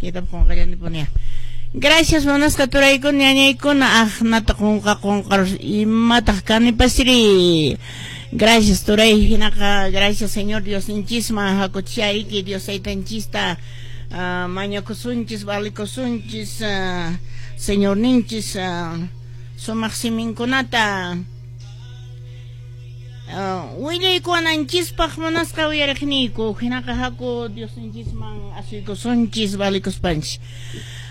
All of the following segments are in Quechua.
Chaytapas qunqallanipunia. Gracias munasqa turaykuna ñañaykuna aqnata qunqarus imataq kanipasri. Gracias turay hinaqa gracias Señor Diosninchisman hakuchayki Dios taytanchista mañakusunchis valikusunchis Señorninchis sumaq siminkunata willaykuwananchispaq munasqa uyariqniyku hinaqa haku Diosninchisman asuykusunchis valikuspanchis.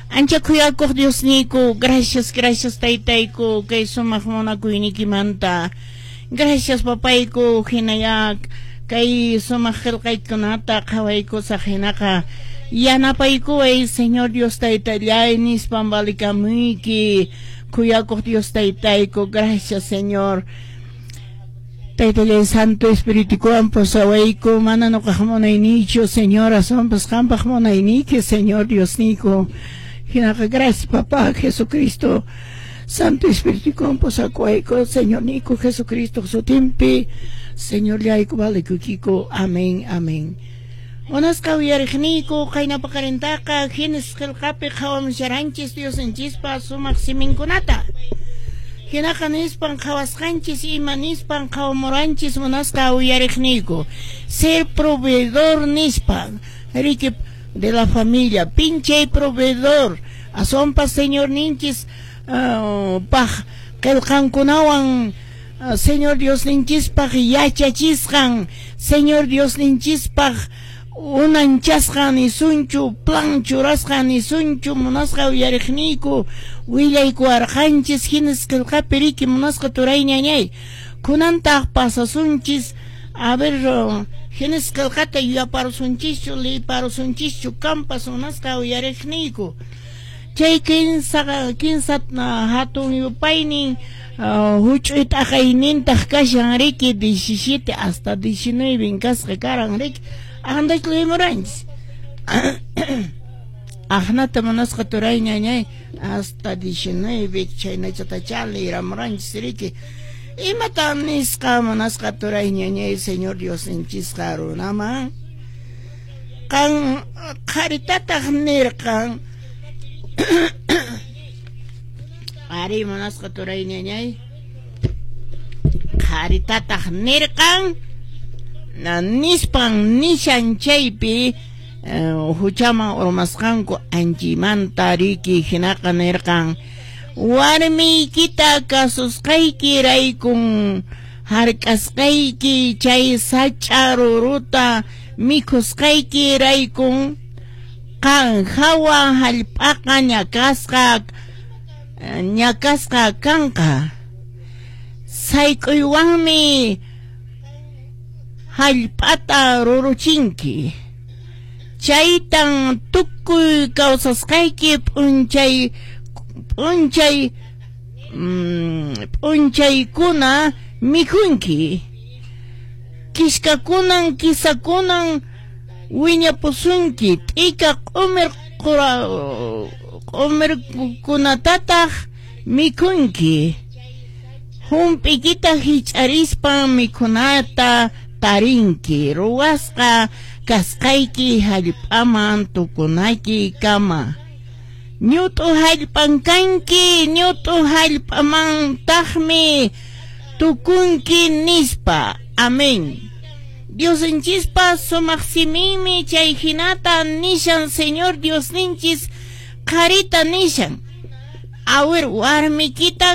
Ancha khuyakuq Diosniyku, gracias, gracias taytayku kay sumaq munakuyniykimanta. Gracias papayku hinaya kay sumaq qillqaykunata qhawaykusaq hinaqa yanapaykuway Señor Dios taytallay nispan valikamuyki khuyakuq Dios taytayku, gracias Señor. Taytallay Santo Espiritukuwan pusawayku mana nuqaq munayniychu Señor aswanpas qampaq munayniyki Señor Diosniyku. Hinaqa gracias papá Jesucristo Santo Espiritukuwan pusakuwayku Señorniyku Jesucristo sutinpi Señorllayku valikuykiku. Amén, amén. Munasqa uyariqniyku qayna paqarintaqa Génesis qillqapi qhawamusharanchis Diosninchispa sumaq siminkunata. Hinaqa nispan qhawasqanchis ima nispan qhawamuranchis munasqa uyariqniyku. Ser proveedor nispa, riki de la familia, pinchay proveedor, aswanpas Señorninchis paq qillqankunawan Señor Diosninchispaq yachachisqan, Señor Diosninchispaq unanchasqan nisunchu, plan churasqan nisunchu, munasqa uyariqniyku willaykuwarqanchis Génesis qillqapi riki munasqa turay ñañay. Kunantaq pasasunchis, a ver, Génesis qillqata yuyaparusunchischu, liyparusunchischu, kampas munasqa uyariqniyku. Chay kinsa hatun yupaynin huch'uy t'aqaynintaq kashan riki 17 hasta 19 kasqa karan riki. Aqnatachu leemuranchis. Aqnata munasqa turay ñañay hasta 19 chhaynachatachá leeramuranchis riki. Imatan nisqa munasqa turay ñañay Señor Diosninchisqa runaman? Qan qharitataq nirqan ari munasqa turay ñañay qharitataq nirqan nispan nishan chaypi huchaman urmasqanku anchimanta riki hinaqa nirqan warmiykita kasusqayki raykun hark'asqayki chay sach'a ruruta mikhusqayki raykun qan hawa hallp'aqa ñakasqa kanqa sayk'uywanmi hallp'ata ruruchinki chaytan tukuy kawsasqayki p'unchaykuna mikhunki kiskakunan kisakunan wiñapusunki t'ika q'umir q'umirkunatataq mikhunki hump'ikita hich'arispan mikhunata tarinki ruwasqa kasqayki hallp'aman tukunayki kama ñut'u hallp'an kanki ñut'u hallp'amantaqmi tukunki nispa. Amén. Diosninchispa sumaq siminmi chay hinata nishan Señor Diosninchis qharita nishan. Awir warmikita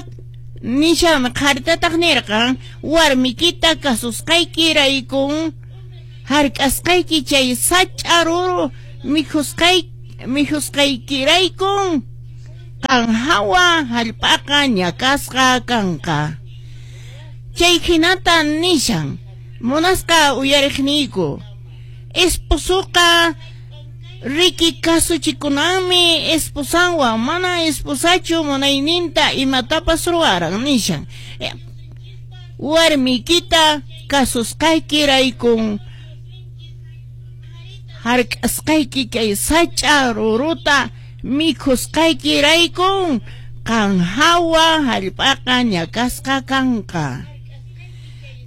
nishan qharitataq nirqan warmikita kasusqayki raykun hark'asqayki chay sach'a ruru mikhusqaykiraykun qan hawa hallp'aqa ñakasqa kanqa. Chay hinata nishan munasqa uyariqniyku esposoqa riki kasuchikunanmi esposanwan mana esposachu munayninta imatapas ruwaran nishan warmikita kasusqayki raykun hark'asqayki kay sach'a ruruta mikhusqayki raykun qan hawa hallp'aqa ñakasqa kanqa.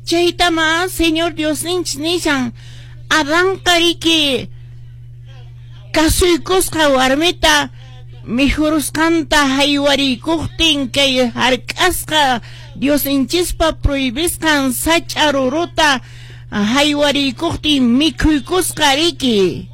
Chaytama Señor Diosninchis nishan Adanqa riki Kasuykusqa warmita mikhurusqanta haywarikuqtin kay hark'asqa Diosninchispa prohibisqan sach'a ruruta haywarikuqtin mikhuykusqa riki.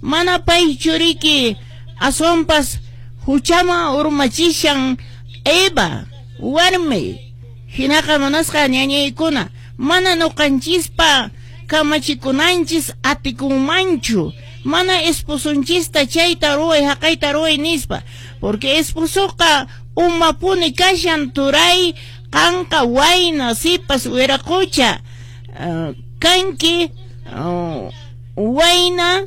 Mana paychu riki aswanpas huchaman urmachishan Eva warmi. Hinaqa munasqa ñañaykuna mana nuqanchispa kamachikunanchis atikunmanchu. Mana esposonchista chayta ruway haqayta ruway nispa, porque esposoqa umapuni kashan turay qanqa wayna sipas wiraqucha kanki wayna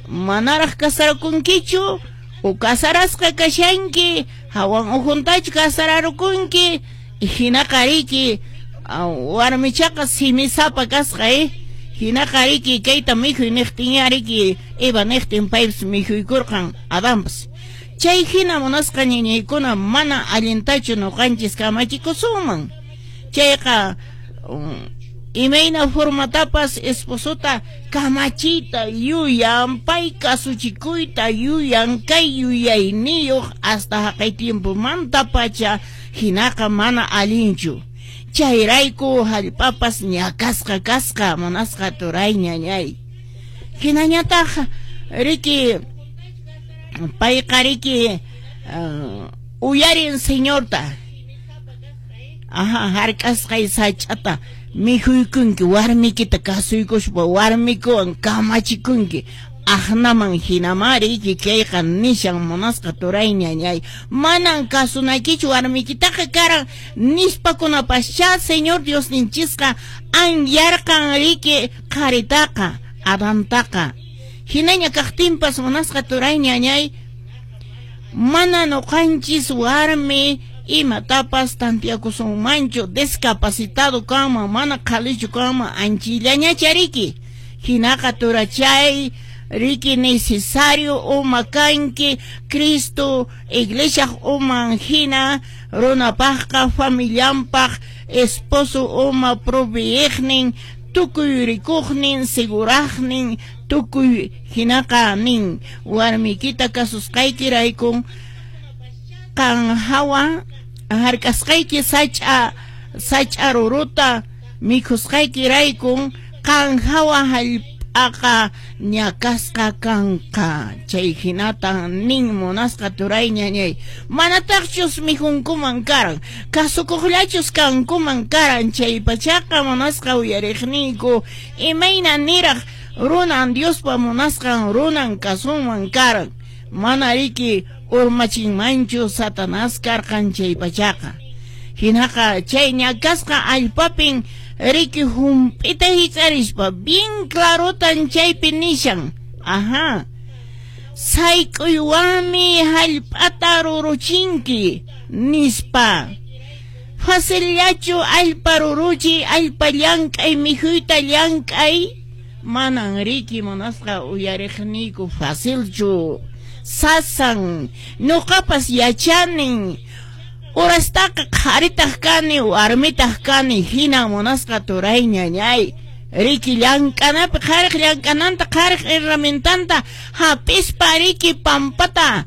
manaraq kasarakunkichu o kasarasqa kashanki hawan ukhuntachu kasararukunki hinaqa riki warmichaqa simisapa kasqa hinaqa riki kayta mikhuy niqtinya riki Eva niqtin paypas mikhuykurqan Adanpas. Chay hina munasqa ñañaykuna mana allintachu nuqanchis kamachikusunman. Chayqa imayna formatapas esposota kamachiyta yuyan, pay kasuchikuyta yuyan, kay yuyayniyuq hasta haqay tiempomantapacha hinaqa mana allinchu. Chayrayku hallp'apas ñakasqa kasqa munasqa turay ñañay. Hinañataq riki payqa riki uyarin Señorta. Aha, hark'asqay sach'ata mikhuykunki warmikita kasuykuspa warmikuwan kamachikunki aqnaman hinamá riki kayqa nishan munasqa turay ñañay. Manan kasunaykichu warmikitaqa karan nispakunapaschá Señor Diosninchisqa anyarqan riki qharitaqa Adantaqa. Hinaña kaqtinpas munasqa turay ñañay mana nuqanchis warmi imatapas tantiakusunmanchu discapacitado kanman mana qhalichu kanman anchillañacha riki. Hinaqa turachay riki necesario uma kanki Cristo iglesiaq uman hina runapaqqa familianpaq esposo uma proveeqnin tukuy rikuqnin seguraqnin tukuy hinaqa nin warmikita kasusqaykiraykun qan hawa hark'asqayki sach'a ruruta mikhusqaykiraykun qan hawa hallp'aqa ñakasqa kanqa. Chay hinatan nin munasqa turay ñañay. Manataqchus mikhunkuman karan, kasukuqllachus kankuman karan chay pachaqa munasqa uyariqniyku imayna niraq runan Diospa munasqan runan kasunman karan. Mana riki urmachinmanchu Satanás karqan chay pachaqa. Hinaqa chay ñakasqa allpapin riki hump'ita hich'arispa bien clarotan chaypi nishan. Ajá. Sayk'uywanmi hallp'ata ruruchinki nispa. Facillachu allpa ruruchi, allpa llank'ay, mikhuyta llank'ay. Manan riki munasqa uyariqniyku facilchu. Sasan, nuqapas yachanin. Urastaqa qharitaq kani, warmitaq kani, hina munasqa turay ñañay. Riki llank'anapi qhariq llank'ananta, qhariq herramientanta hapispa riki pampata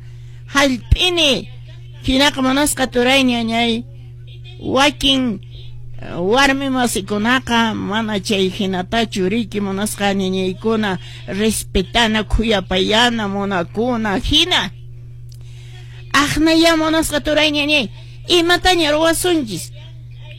hallp'ini. Hinaqa munasqa turay ñañay. Wakin warmi masikunaqa mana chay hinatachu riki munasqa ñañaykuna respetana, khuyapayana, munakuna hina. Aqnaya munasqa turay ñañay. Imataña ruwasunchis,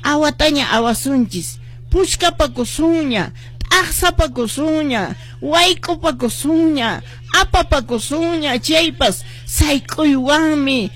awataña awasunchis, puchkapakusunña, t'aqsapakusunña, wayk'upakusunña, apapakusunña, chaypas sayk'uywanmi